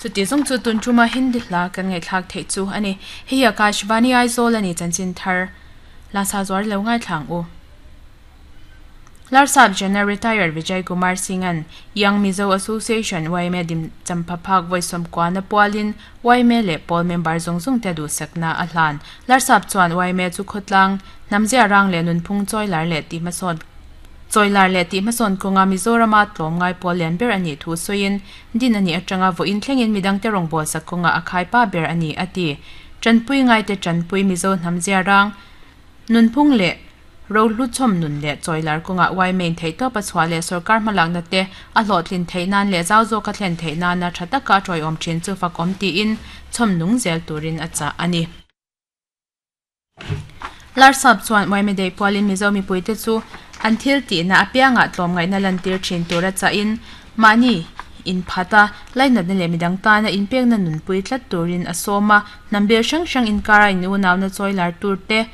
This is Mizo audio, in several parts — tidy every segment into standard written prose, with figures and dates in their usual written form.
Chuti zawng chu tun tuma Hindi hla kan ngaihthlak theih chu a ni. Hei hi Akashvani Aizawl a ni chanchin thar Lasa zuar lo ngaithla ang u. Larsap General Retired Vijay Kumar Singh-a'n Young Mizo Association, yma, dim champha phak vawi sawmkuana pualin yma leh pawl member zawng zawng te duhsakna a hlan. Larsap chuan yma chu khawtlang, hnamzia rang leh nunphung chawilar leh tih hmasawn chawilar leh tih hmasawn kawnga Mizorama tlawm ngai pawl lian ber a nih thu sawiin din a nih atanga vawiin thlengin midangte rawngbawlsak kawnga a khaipa ber a ni a ti. Tanpui ngaite tanpui Mizo hnamzia rang, Nunphung leh rohluchhawm nun leh chawilar kawngah yma in theihtawp a chhuah leh sorkar hmalakna te a hlawhtlin theih nan leh zau zawka thlen theih nana tha taka a tawiawm thin chu fakawm tiin chhawm nung zel turin a chah a ni. Larsap chuan yma daih pualin Mizo mipuite chu an thil tihna apiangah tlawmngaihna lantir thin tura chahin Mahni inphat a, lainatna leh midang tana inpekna nunpui tlat turin a sawm a, hnam bil hrang hrang inkara in unauna chawi lar tur te,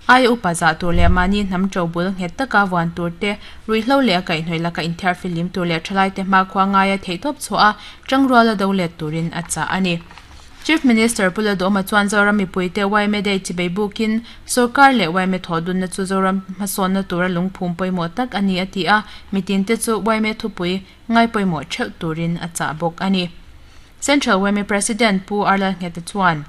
aia upa zah tur leh mahni hnam to bul nghet taka vuan tur te, ruihhlo leh a kaihhnawih laka inthiar filim tur leh thalaite hmakhua ngaia theihtawp chhuah a, tangruala do let turin a chah a ni. Chief Minister Pu Ladawma chuan Zoram mipuite yma Day chibei bukin sorkar leh yma thawhdunna chu Zoram hmasawnna tura lungphum pawimawh tak a ni a ti a, mitinte chu yma thupui ngai pawimawh theuh turin a chah bawk a ni. Central yma President Pu Arlal Ngheta chuan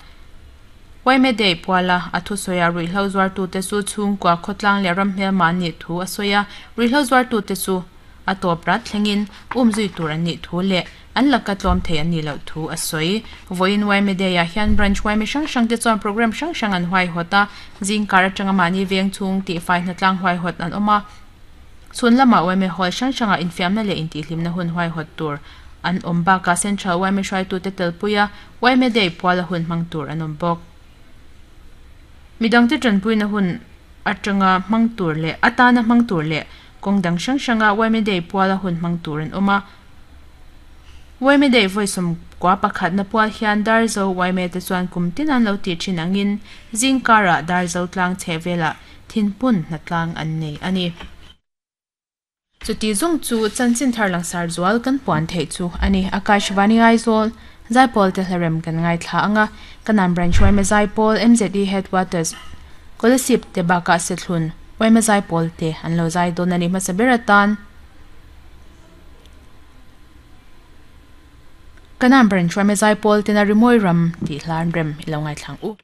yma Day puala a thusawiah ruihhlo zuartute chu chhungkua khawtlang leh ram hmelma an nih thu a sawi a, ruihhlo zuartute chu a tawp rat thlengin umzui tur an nih thu leh an laka tlawm thei an nih loh thu a sawi. Vawiin yma Day-ah hian Branch yma hrang hrang te chuan programme hrang hrang an huaihawt a, zingkar atanga mahni veng chhung tihfai hnatlang huaihawt an awm a, chhun lamah yma Hall hrang hrangah infiamna leh intihhlimna hun huaihawt tur an awm bakah Central yma hruaitute telpuia yma Day puala hun hmang tur an awm bawk. Midangte tanpuina hun atanga hmang tur leh atana hmang tur leh kawng dang hrang hranga yma Day puala hun hmang tur an awm a. Yma Day vawi sawmkua pakhatna pual hian Darzo yma te chuan kum tin an lo tih thin angin zing karah Darzo tlang chheh velah thinpun hnatlang an nei a ni. Chuti zawng chu chanchin thar langsar zual kan puan theih chu a ni. Akashvani Aizawl, Zaipawl te hlarem kan ngaithla ang a, Kanan Branch yma Zaipawl, MZE Headquarters, Kolasib te bakah Sethlun yma Zaipawl te an lo zai dawn a ni hmasa ber atan. Kanan Branch yma Zaipawl tena Rimawi Ram tih hlan rem i lo ngaithla ang u.